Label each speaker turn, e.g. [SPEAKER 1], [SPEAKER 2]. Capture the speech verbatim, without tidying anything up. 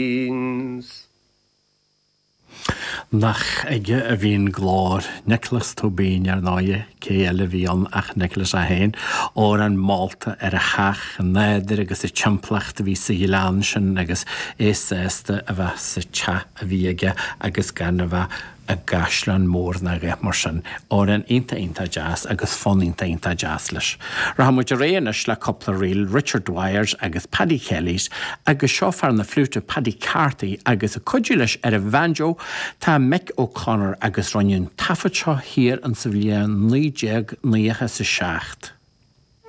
[SPEAKER 1] Beans.
[SPEAKER 2] Nach aige a bhí an glór, Nioclás Tóibín ar ndóighe, cé eile a bhí ann ach Nioclás é féin, amhrán molta ar a theach, an nádúr agus an timpeallacht a bhí sa ghleann sin agus é sásta a bheith sa teach a bhí aige agus gan a bheith i gcaisleán mór ná a dhath mar sin. Amhrán iontach iontach deas agus fonn iontach iontach deas leis. Rachaidh muid ar aghaidh anois le cúpla ríl, Richard Dwyers agus Paddy Kelly's agus seo fear na fliúite Paddy Carthy agus ag cuidiú leis ar an bhanjo tá Mick O'Connor agus rinneadh an taifead seo thiar in sa bhliain naoi déag nócha is a seacht.